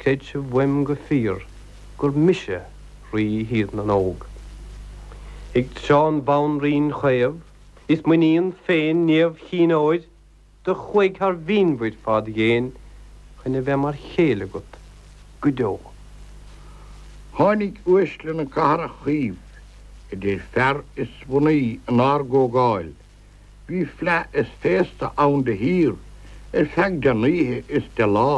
Creid sibh uaim go fíor gur mise Rí Thír na nÓg. Ag tráth an bhanríon chaomh is m'iníon féin Niamh Chinn Óir do chuaigh thar mhínmhuir fad ghéin chun a bheith mar chéile agat go deo. Tháinig uaisle na cathrach chuímh, idir fear is mhnaoi inár gcomhdháil. Bhí fleadh is féasta ann de shíor ar feadh den oíche is de lá.